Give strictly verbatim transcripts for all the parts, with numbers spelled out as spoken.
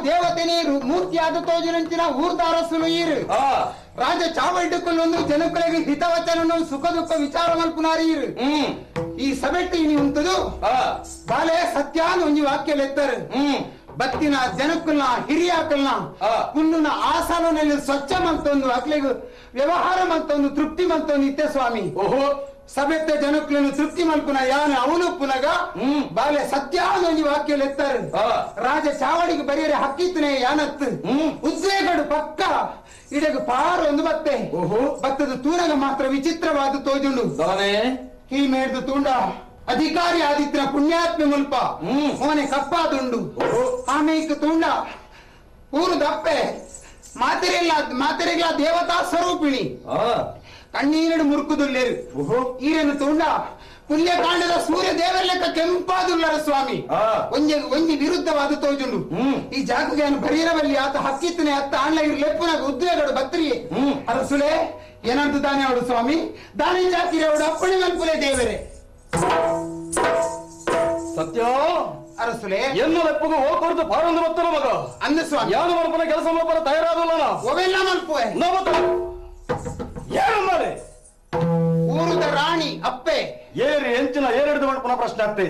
ದೇವತೆನೇ ಮೂರ್ತಿಯಾದ ತೋಜಿನಂಚಿನ ಊರ್ದಾರಸುಲು ಈರು ರಾಜ ಚಾವಲ್ಡುಕುಲ್ಲೊಂದು ಜನಕುಲೆಗೆ ಹಿತವಚನನು ಸುಖ ದುಃಖ ವಿಚಾರ ಮಲ್ಪುನಾರೀರು. ಈ ಸಭೆಟ್ಟಿ ಇನಿ ಉಂಟುದು ಬಾಲೆ ಸತ್ಯಾನು ಒಂಜಿ ವಾಕ್ಯ ಲೆತ್ತರು. ಬತ್ತಿನ ಜನಕ್ಕಲ್ನ ಹಿರಿಯಾಕಲ್ನ ಕುಲ್ಲುನ ಆಸನನಲ್ಲಿ ಸ್ವಚ್ಛ ಮಂತೊಂದು ಅಕ್ಲೆಗ್ ವ್ಯವಹಾರ ಮಂತೊಂದು ತೃಪ್ತಿ ಮಂತೊಂದು ಇತ್ತೆ ಸ್ವಾಮಿ. ಓಹೋ ಸಭೆತ್ತ ಜನಕ್ಕలను ತೃಪ್ತಿ ಮಲ್ಪುನ ಯಾನ ಅವನು ಪುನಗ ಬಾಲೆ ಸತ್ಯಾನ ಒಂಜಿ ವಾಕ್ಯ ಲೆತ್ತಾರೆ. ರಾಜ ಚಾವಡಿಗೆ ಬರಿಯರೆ ಹಕ್ಕಿತ್ತನೆ ಯಾನತ್ತು ಉದ್ವೇಗಡು ಪಕ್ಕ ಇಡಗ ಪಾರು ಒಂದು ಬತ್ತೆ. ಓಹೋ ಬತ್ತದ ತೂನಗ ಮಾತ್ರ ವಿಚಿತ್ರವಾದ ತೋಜುಂಡು. ಈ ಮೇಡ್ದು ತೂಂಡ ಅಧಿಕಾರಿ ಆದಿತ್ಯ ಪುಣ್ಯಾತ್ಮೆ ಮುಲ್ಪ ಮೋನೆ ಕಪ್ಪಾದುಂಡು. ಆಮೇಕ ತೂಂಡ ಊರು ದಪ್ಪೆ ಮಾತೆರೆಲ್ಲ ಮಾತೆರೆಗ್ಲ ದೇವತಾ ಸ್ವರೂಪಿಣಿ ಕಣ್ಣೀರಡು ಮುರುಕುದುಲ್ಲೇರು. ಈರನ್ನು ತೂಂಡ ಪುಣ್ಯಕಾಂಡದ ಸೂರ್ಯ ದೇವರ ಕೆಂಪಾದುಲ್ಲರ ಸ್ವಾಮಿ. ಒಂಜಿ ಒಂಜಿ ವಿರುದ್ಧವಾದ ತೋಜುಂಡು. ಈ ಜಾಗಕ್ಕೆ ಬರೀರವಲ್ಲಿ ಆತ ಹಕ್ಕಿತ್ತನೆ ಅತ್ತ ಆಣ್ಲ ಇರು ಲೆಪ್ಪುನಾಗ ಉದ್ವೇಗಡು ಬತ್ರಿಯೇ ಅರಸುಲೆ ಏನಂತ ದಾನೆ ಅವಡು ಸ್ವಾಮಿ ದಾನೆ ಜಾತಿರೆ ಅವಡು ಅಪ್ಪಣೆ ಮಲ್ಪುಲೆ ದೇವರೇ. ಸತ್ಯ ಅರಸುಲೆ ಎನ್ನು ಲೆಪ್ಪುಗು ಹೋಗ್ಕೊಡ್ದು ಪಾರೊಂದು ಬತ್ತನ ಮಗ ಅಂದ ಸ್ವಾಮಿ. ಯಾನು ಮಲ್ಪನ ಕೆಲಸ ಮಲ್ಪನ ತಯಾರಾದಲ್ಲ ಅವೆಲ್ಲ ಮಲ್ಪುವೆ ಏನು ಮಾಡಿ ಊರುದ ರಾಣಿ ಅಪ್ಪೆ ಏರಿ ಎಂಚಿನ ಏರೆಡ್ದು ಮಲ್ಪನ ಪ್ರಶ್ನೆ ಆಗ್ತೆ.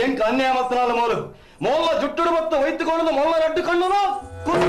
ಎಂಕ ಅನ್ಯಾಯ ಮತ್ತನಾಲ ಮೋಲು ಮೋಲ್ಲ ಜುಟ್ಟುಡು ಬತ್ತ ವೈದ್ಯಕೊಂಡು ಮೊಲ್ಲ ರಡ್ಡು ಕಣ್ಣು